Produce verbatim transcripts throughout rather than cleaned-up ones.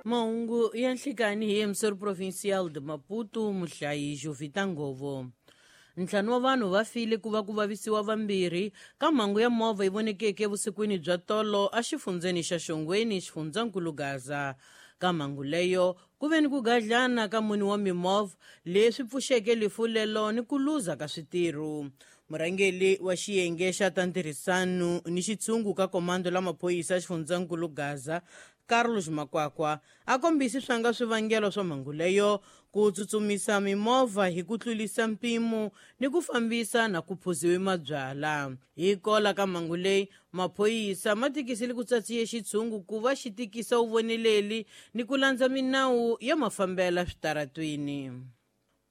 Mahungu ya nhlikani hi emisori provincial de Maputo muhlayi Jovita Ngovo. Ntlhanu wa vanhu va file ku va ku vavisiwa vambirhi ka mhangu ya movha yi vonekeke evusikwini bya tolo exifundzeni xa Xongweni xifundzankulu Gaza. Ka mhangu leyo ku ve ni ku gadlana ka mune wa mimovha leswi pfuxeke lifu lelo ni ku luza ka switirho. Murhangeri wa xiyenge xa ta ntirhisano ni xitshungu ka komando la maphorisa xifundzankulu Gaza Carlos Makwakwa a kombisi swanga swivangelo swa mhangu leyo ku tsutsumisa mimovha hi ku tlulisa mpimo ni ku fambisa na ku phuziwe mabyala. Hi kola ka mhangu leyi maphorisa ma tikisile ku tsatsiye xitshungu ku va xi tikisa vuvoneleli ni ku landza minawu ya mafambela switaratwini.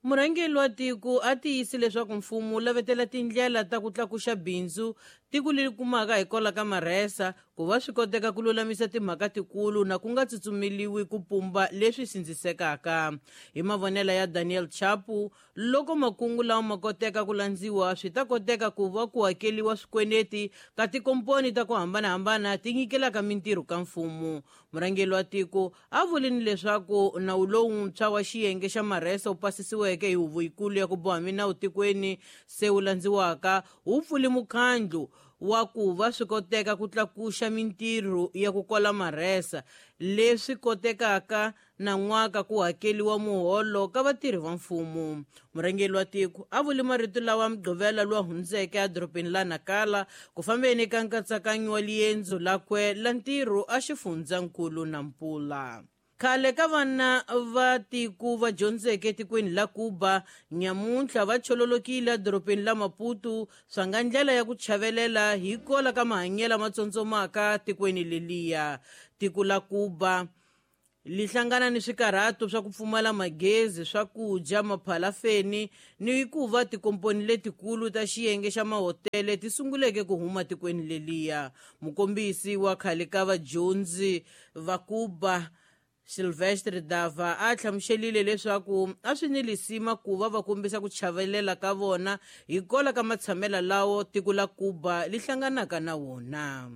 Murhangeri wa tiko a tiyisi leswaku mfumo wu lavetela tindlela ta ku tlakuxa bindzu tiko leri kumaka hi kola ka marhesa ku va swi koteka ku lulamisa timhaka tikulu na ku nga tsutsumeliwi ku pumba leswi sindzisekaka. Hi mavonelo ya Daniel Chapo, loko makungu lawa ma koteka ku landziwa swi ta koteka ku va ku hakeliwa swikweleti ka tikomponi ta ku hambanahambana ti nyikelaka mintirho ka mfumo. Murhangeri wa tiko a vulini leswaku nawu lowuntshwa wa xiyenge xa marhesa wu pasisiweke hi huvo yikulu ya ku boha minawu tikweni se wu landziwaka wu pfule mukhandlu wa ku va swi koteka ku tlakuxa mintirho ya ku kola marhesa leswi kotekaka na n'waka ku hakeliwa muholo ka vatirhi va mfumo. Murhangeri wa tiko a vule marito lawa Mugqivela lowu hundzeke edorobeni la Nakala ku fambeni ka nkatsakanyo wa liendzo lakwe la ntirho exifundzankulu Nampula. Khale ka vana va tiko va dyondzeke etikweni la Cuba nyamuntlha va chololokile edorobeni la Maputo swa nga ndlela ya ku chavelela hi kola ka mahanyelo ma tsotsomaka tikweni leliya. Tiko la Cuba li hlangana ni swikarhato swa ku pfumala magezi, swakudya, maphalafeni ni ku va tikomponi letikulu ta xiyenge xa mahotele ti sunguleke ku huma tikweni leliya. Mukombisi wa khale ka vadyondzi va Cuba Silvestre Dava a hlamuselile leswaku a swi ni lisima ku va va kombisa ku chavelela ka vona hi kola ka matshamela lawo tiko la Cuba li hlanganaka na wona.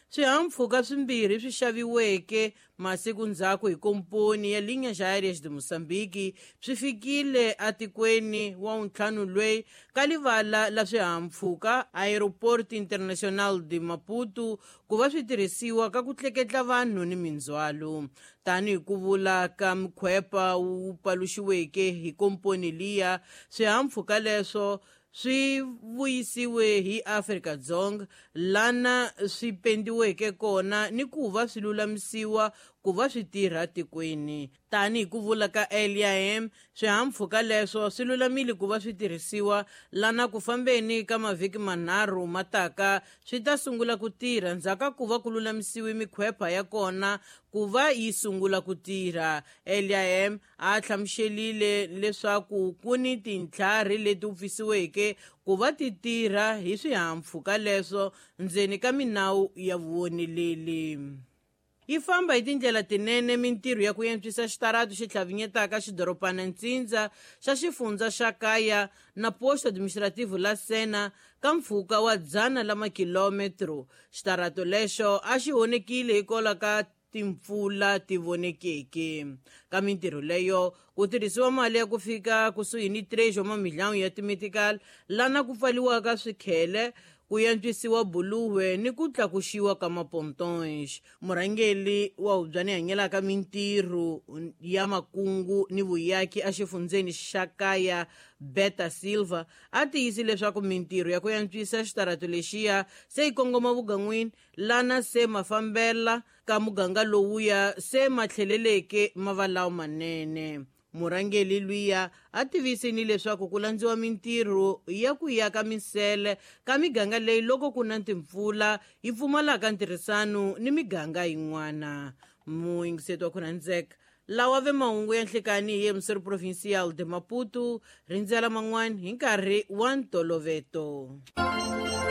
Swihahampfhuka swimbirhi swi xaviweke masiku ndzhaku hi komponi ya Linhas Aéreas de Moçambique swi fikile atikweni wa ntlhanu lweyi ka livala la swihahampfhuka Aeroporto Internacional de Maputo ku va swi tirhisiwa ka ku tleketla vanhu ni mindzhwalo. Tanihi ku vula ka mkhwepa wu paluxiweke hi komponi liya, swihahampfhuka leswo swi vuyisiwe hi Afrika-Dzonga lana swi pendiweke kona ni ku va swi lulamisiwa ku va swi tirha tikweni. Tanihi ku vula ka L I M, swihahampfhuka leswo swi lulamile ku va swi tirhisiwa lana ku fambeni ka mavhiki manharhu mataka swi ta sungula ku tirha ndzhaku ka ku va ku lulamisiwe mikhwepa ya kona ku va yi sungula ku tirha. L I M a hlamuselile leswaku ku ni tintlhari leti upfisiweke ku va ti tirha hi swihahampfhuka leswo ndzeni ka minawu ya vuvoneleli. Yi famba hi tindlela tinene mintirho ya ku antswisa xitarato xi tlhavinyetaka xidorobana Ntsindza xa xifundza xa Kaya na posto administrativo la Sena ka mpfhuka wa dzana la makilometro. Xitarato lexo a xi honekile hikwalaho ka timpfula ti vonekeke. Ka mintirho leyo ku tirhisiwa mali ya ku fika kusuhi ni três wa mamilhão ya timetical lana ku pfaliwaka swikhele, ku antswisiwa buluwe ni ku tlakuxiwa ka mapontons. Murhangeri wa hubyani hanyelaka mintirho ya makungu ni vuyaki exifundzeni xa Kaya Beta Silva a tiyisi leswaku mintirho ya ku antswisa xitarato lexiya se yi kongoma vugan'wini lana se mafambela ka muganga lowuya se ma tlheleleke ma va lawa manene. Murhangeri luya a tivisini leswaku ku landziwa mintirho ya ku yaka misele ka miganga leyi loko ku na timpfula yi pfumalaka ntirhisano ni miganga yin'wana. Muyingiseti wa Khonandzeka, lawa ve mahungu ya nhlikani hi emisori provincial de Maputo, rindzela man'wana hi nkarhi wa ntoloveto.